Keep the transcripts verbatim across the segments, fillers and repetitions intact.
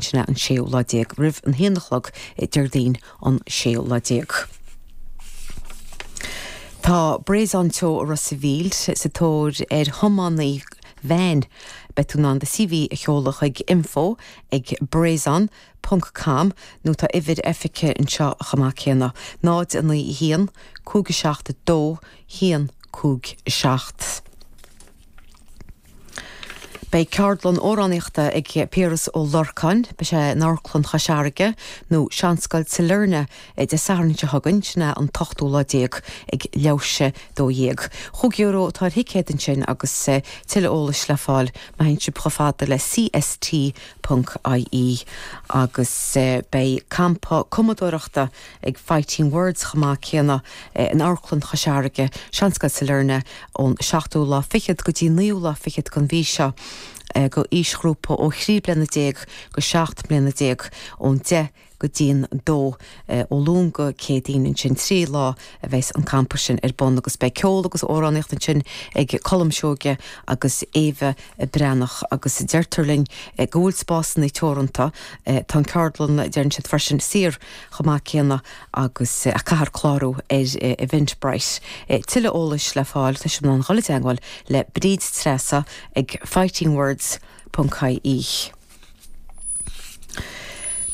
Sin an séú lá déag roimh an haon a chlog Déardaoin an séú lá déag. Tá Breizon Teo Ros an Mhíl sa tóir ar thiománaí veain. Beidh tú in ann do C V a sheoladh chuig info ag brezon ponc com nó tá uimhir oifige anseo chomh maith céanna, náid a naoi haon, cúig seacht dó, haon cúig seacht. Beidh ceardlann amhránaíochta ag Piaras Ó Lorcáin, beidh sé in Amharclann Chois Fharraige nó Seanscoil Sailearna Dé Sathairn seo chugainn, sin é an t-ochtú lá déag ag leathuair théis dó dhéag. Chúig euro atá ar thicéad ansin agus tuilleadh eolais le fáil má théann sibh chomh fada le C S T ponc I E. Agus beidh campa cumadóireachta ag Fighting Words chomh maith céanna in Amharclann Chois Fharraige, Seanscoil Sailearna, ón seachtú lá fichead go dtí naoú lá fichead den mhí seo go aoisghrúpa ó thrí bliana déag go seacht mbliana déag ón deich go dtí'n dó ó Luan go Céadaoin. Ansin trí lá a bheas an campa sin ar bun agus beidh ceol agus amhránaíocht ansin ag Colm Seoige agus Éabha Breathnach agus deirtear linn go bhfuil spásanna teoranta. Tá an ceardlann, deireann siad freisin, saor chomh maith céanna agus a caithfear clárú ar Eventbrite. Tuilleadh eolais le fáil, tá sibh in ann dul i dteagmháil le Bríd Treasa ag fightingwords ponc I E.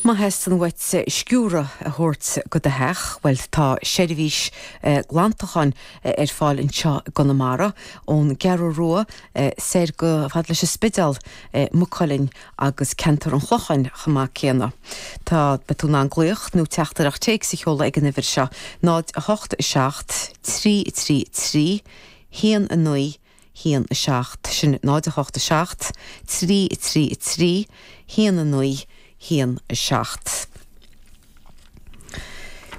Má theastaíonn uait sciúradh a thabhairt go do theach, bhuel, tá seirbhís glantacháin ar fáil anseo i gConamara ón gCeathrú Rua soir go fad leis an Spidéal, Maigh Cuilinn agus ceantar an Chlocháin chomh maith céanna. Tá beidh tú in ann glaoch nó teachtaireacht téacs a sheoladh ag an uimhir seo, náid a hocht seacht trí trí trí haon a naoi haon a seacht, sin náid a hocht seacht trí trí trí haon a naoi haon a seacht.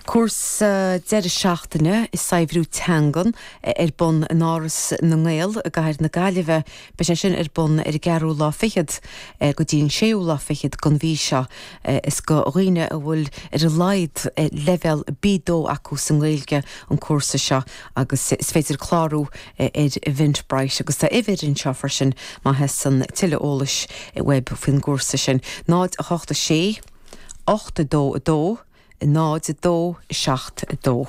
Cúrsa deireadh seachtaine i saibhriú teangan ar bun in Áras na nGael i gcathair na Gaillimhe. Beidh sé sin ar bun ar an gceathrú lá fichead go dtí an séú lá fichead den mhí seo. Is go dhaoine a bhfuil ar a laghad leibhéal B dó acu sa nGaeilge an cúrsa seo agus is féidir clárú ar Eventbrite agus tá uimhir anseo freisin má theastaíonn tuilleadh eolais uaibh faoin gcúrsa sin. náid a hocht sé ocht dó dó náid dó seacht dó.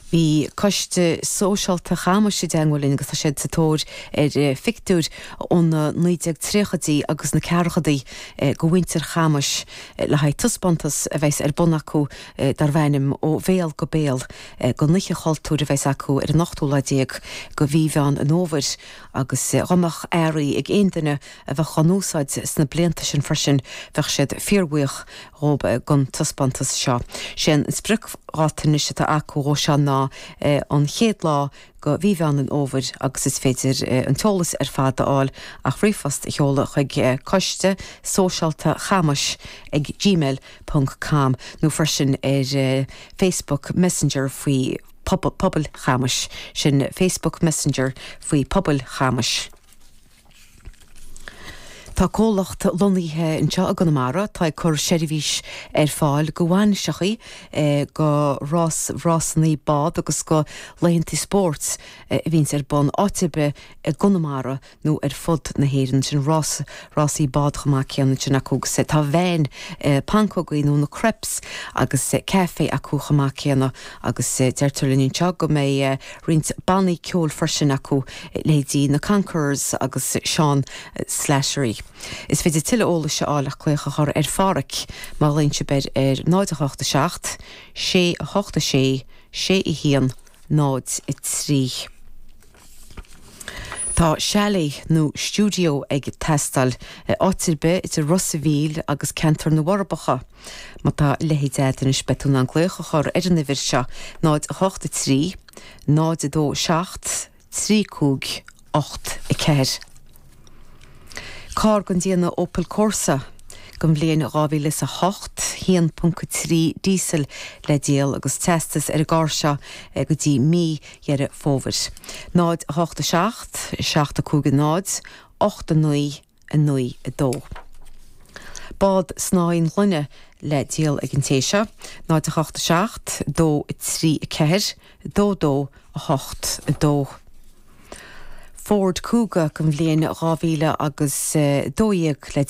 Bhí coiste sóisialta Chamais i dteagmháil linn agus tá siad sa tóir ar phictiúir ó na naoi déag tríochaidí agus na ceathrachaidí go mhuintir Chamais le haghaidh taispeántas a bheas ar bun acu darb ainm Ó Bhéal go Béal don Oíche Chultúir a bheas acu ar an ochtú lá déag go mhí Mheán an Fhómhair agus dá mbeadh earraí ag aon duine a bheadh á n-úsáid sna blianta sin freisin, bheadh siad fíorbhuíoch dhób don taispeántas seo. Sé an spriocdháta anois atá acu dhó seo ná an chéad lá go mhí Mheán an Fhómhair agus is féidir an t-eolas ar fad a fháil ach ríomhphost a sheoladh chuig coiste sóisialta chamais ag gmail ponc com nó freisin ar Facebook Messenger faoi Pobal Chamais, sin Facebook Messenger faoi Pobal Chamais. Tá comhlacht lonnaithe anseo i gConamara tá ag cur seirbhís ar fáil go bhainiseachaí, go rás rásanna bád agus go laethanta spóirt a bhíonns ar bun áit ar bith i gConamara nó ar fud na hÉireann, sin rás rásaí bád chomh maith céanna sin acu agus tá veain pancógaí nó na crepes agus caife acu chomh maith céanna agus deirtear linn anseo go mbeidh roinnt bannaí ceoil freisin acu, leithéidí na Conquerors agus Sean Slattery. Is féidir tuilleadh eolais a fháil ach glaoch a chur ar Pháraic má ghlaonn sibh air ar náid a hocht seacht, sé hocht sé, sé a haon, náid a trí. Tá chalet nó stiúideo ag teastáil áit ar bith idir Ros an Mhíl agus ceantar na bhForbacha. Má tá leithéid agat anois, beidh tú in ann glaoch a chur ar an uimhir seo, náid a hocht a trí, náid a dó seacht, trí cúig ocht a ceathair. Carr den déanamh Opel Corsa den bhliain dhá mhíle is a hocht, haon ponc trí diesel le díol agus teastas ar an gcarr seo go dtí mí Dheireadh Fómhair. náid a hocht a seacht, seacht a cúig a náid, ocht a naoi, a naoi a dó. Bád snáithín gloine le díol ag an té seo, náid a hocht a seacht, dó a trí a ceathair, dó dó a hocht a dó. Ford Kuga den bhliain dhá mhíle agus dó dhéag le